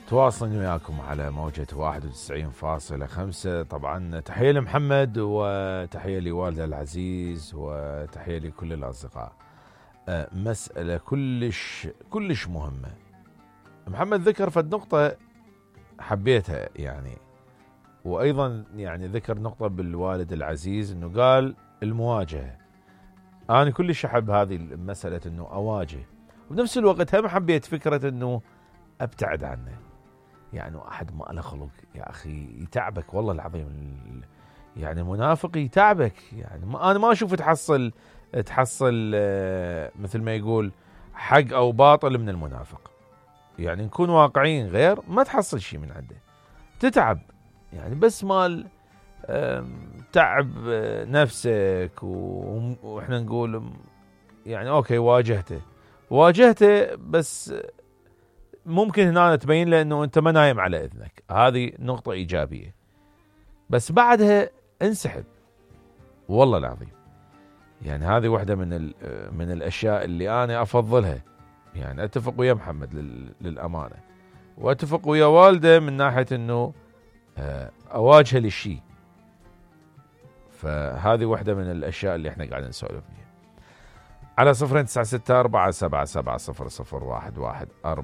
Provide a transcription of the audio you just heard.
تواصلين وياكم على موجة 91.5. طبعا تحية لمحمد وتحية لوالده العزيز وتحية لكل الأصدقاء. مسألة كلش مهمة. محمد ذكر فد نقطة حبيتها يعني، وأيضا يعني ذكر نقطة بالوالد العزيز إنه قال المواجهة. أنا كلش أحب هذه المسألة إنه أواجه، وبنفس الوقت هم حبيت فكرة إنه أبتعد عنه. يعني أحد ما له خلق يا أخي يتعبك والله العظيم، يعني المنافق يتعبك. يعني أنا ما أشوف تحصل مثل ما يقول حق أو باطل من المنافق. يعني نكون واقعيين، غير ما تحصل شيء من عنده، تتعب يعني، بس مال تعب نفسك. وإحنا نقول يعني أوكي واجهته بس ممكن هنا تبين له انه انت ما نايم على اذنك، هذه نقطة ايجابية. بس بعدها انسحب والله العظيم. يعني هذه واحدة من الاشياء اللي انا افضلها. يعني اتفق ويا محمد للامانة، واتفق ويا والده من ناحية انه اواجهه للشيء. فهذه واحدة من الاشياء اللي احنا قاعدين نسولف فيها. على 096477700114